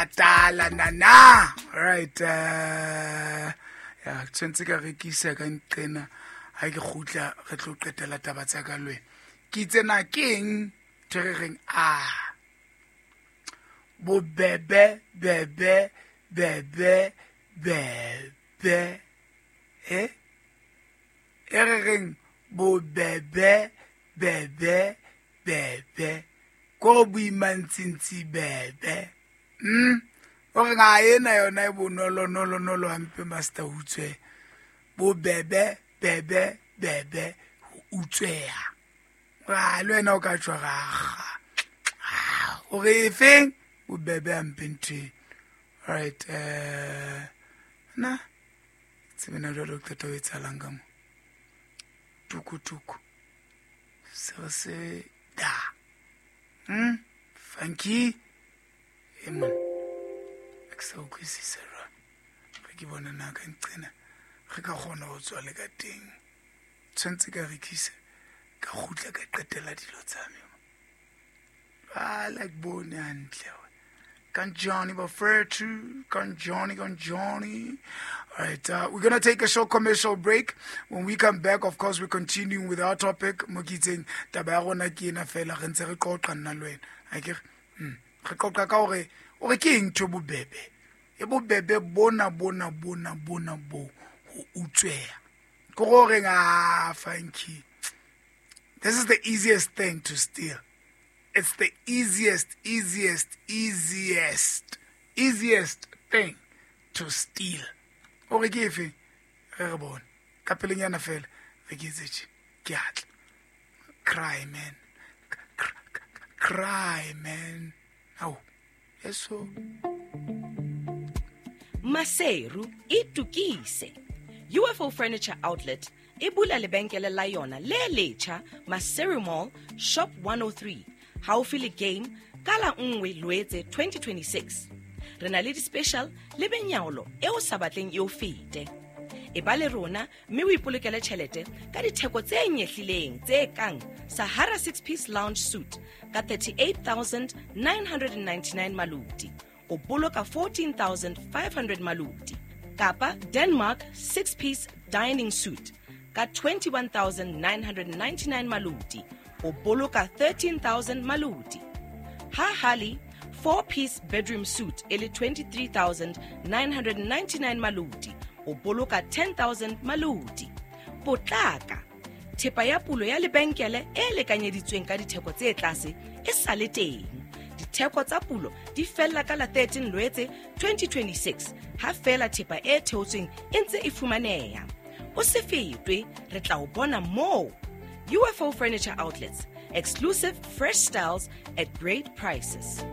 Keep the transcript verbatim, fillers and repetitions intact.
Katala nana. All right, uh, ya tshwantse ka rekisa ka nqena ha ke kgutla re tlo qetela taba tsa ka le wena. Ke itse na ke eng ntho e re reng a bobebe bebe bebe bebe eh e re reng bobebe bebe bebe ko boimantsintsi bebe mm o re ga ena yona e bonolo nolo nolo hampe master utswe bobebe bebe bebe ho utsweha ra le wena o ka tswa raga o re efeng bobebe hampe ntho all right eh na tsebena jwalo qeta ho etsahalang ka mo tukutuku se re se da hmm funky e man ke sa utlwisise jwang re ke bona na ka nqena re ka kgona ho tswa le ka teng tshwanetse ka rekisa ka kgutla ka qetela dilo tsa me I like bone hantle Kanjani Bafethu, Kanjani, Kanjani. All right, uh, we're going to take a short commercial break. When we come back, of course, we're continuing with our topic. Mokitseng, taba ya rona ke ena fela, re ntse re qoqa nna le wena. Akere? Mm. Re qoqa ka hore, hore ke eng ntho e bobebe? E bobebe bona, bona, bona, bona bo, ho utsweha. Ke hore ah, funky. This is the easiest thing to steal. It's the easiest, easiest, easiest, easiest thing to steal. O re ke efe? Re re bone. Ka pelenyana fela, re ke etse tje. Ke atla. Cry, man. Cry, man. Ao. Eso. Maseru itukise. U F O Furniture Outlet e bula lebenkele la yona le letjha Maseru Mall Shop one oh three haufi le Game ka la nngwe Loetse twenty twenty-six. Re na le di-special le benyaolo e o sa batleng e o fete. E ba le rona mme o ipolokele tjhelete ka ditheko tse nyehlileng tse kang Sahara six-piece lounge suite ka thirty-eight thousand nine hundred and ninety-nine maluti, o boloka fourteen thousand five hundred maluti, kapa Denmark six-piece dining suite ka twenty-one thousand nine hundred and ninety-nine maluti, o boloka thirteen thousand maluti. Ha Hali four-piece bedroom suite e le twenty-three thousand nine hundred and ninety-nine maluti, o boloka ten thousand maluti. Potlaka, thepa ya pulo ya lebenkele e lekanyeditsweng ka ditheko tse tlase e sa le teng. Ditheko tsa pulo di fella ka la thirteen Loetse twenty twenty-six, ha fela thepa e theotsweng e ntse e fumaneha. O se fetwe, re tla o bona moo. U F O Furniture Outlets, exclusive fresh styles at great prices.